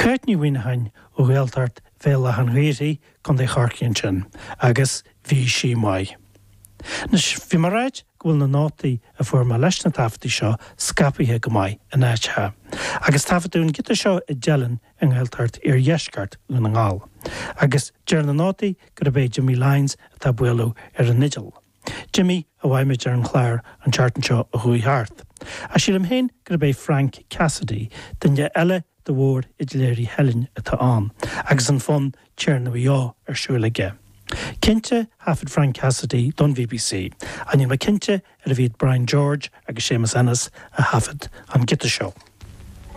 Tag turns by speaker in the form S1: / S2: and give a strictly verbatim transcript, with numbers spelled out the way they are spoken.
S1: Cáit Ní Mhuineacháin ó Ghaeltacht Bhéal Átha an Ghaorthaidh, Contae Chorcaí ansin, agus bhí sí maith. Anois, bhí mé ag ráit go bhfuil na nótaí a fuair mé leis na taifeadtaí seo scaipthe go maith in áiteacha, agus taifeadadh an giota seo i dTeileann i nGaeltacht Iardheisceart Dhún na nGall, agus deir na nótaí gurb é Jimmy Lyons atá ag bualadh ar an fhidil. Jimmy a mhaígh muid ar an chlár an tseachtain seo a chuaigh thart. Ach sílim féin gurb é Frank Cassidy, duine eile de mhórfhidléirí Theilinn atá ann, agus an fonn Tiarna Mhaigh Eo ar siúl aige. Cinnte, thaifead Frank Cassidy don BBC, ach níl mé cinnte arbh iad Brian George agus Séamus Ennis a thaifead an giota seo.